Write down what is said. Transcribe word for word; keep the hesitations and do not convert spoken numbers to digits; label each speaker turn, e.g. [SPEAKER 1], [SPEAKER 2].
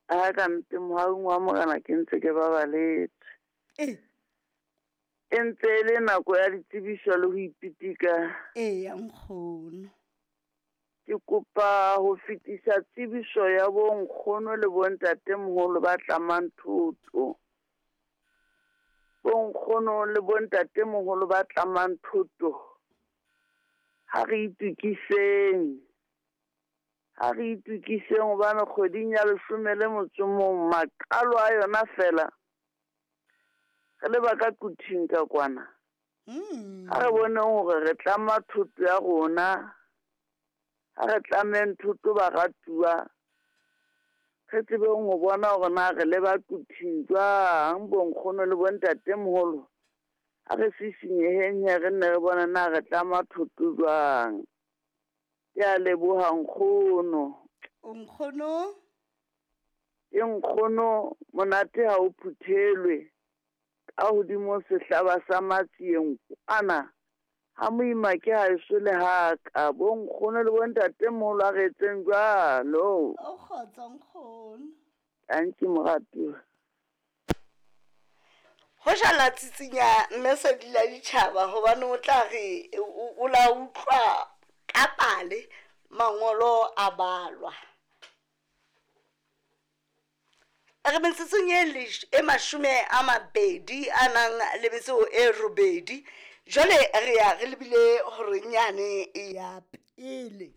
[SPEAKER 1] A ka nte mohaung wa Morena ke ntse ke babaletse.
[SPEAKER 2] Ee.
[SPEAKER 1] E ntse e le nako ya ditsebiso le ho ipitika.
[SPEAKER 2] Eya nkgono.
[SPEAKER 1] Ke kopa ho fetisa tsebiso ya bonkgono le bontatemoholo ba tlamang thoto. Bonkgono le bontatemoholo ba tlamang thoto. Ha re itokiseng. Ha re itokiseng hobane kgweding ya leshome le motso o mong maqalo a yona feela. Re le ba ka Quthing ka kwana.
[SPEAKER 2] Mm.
[SPEAKER 1] Ha re boneng hore re tlama thoto ya rona. Ha re tlameng thoto baratuwa. Re tsebeng ho bona hore na re le ba Quthing jwang bonkgono le bontatemoholo. Ha re sisinyeheng he re nne re bone na re tlama thoto jwang. Ke a leboha nkgono.
[SPEAKER 2] O nkgono?
[SPEAKER 1] Ke nkgono monate ha o phuthelwe. Ka hodimo sehlaba sa matsieng kwana. Ha moima ke haeso le haka. Bonkgono le bontatemoholo a re etseng jwalo.
[SPEAKER 2] O kgotso nkgono.
[SPEAKER 1] Tanki moratuwa.
[SPEAKER 2] Ho jala tsitsinya mme sedi la ditjhaba hobane o tla re o, o la utlwa ka pale mangolo a balwa. Re metsotsong e lesh-, e mashome a mabedi a nang le metso e robedi. Jwale re ya re lebile horeng yane ya pele.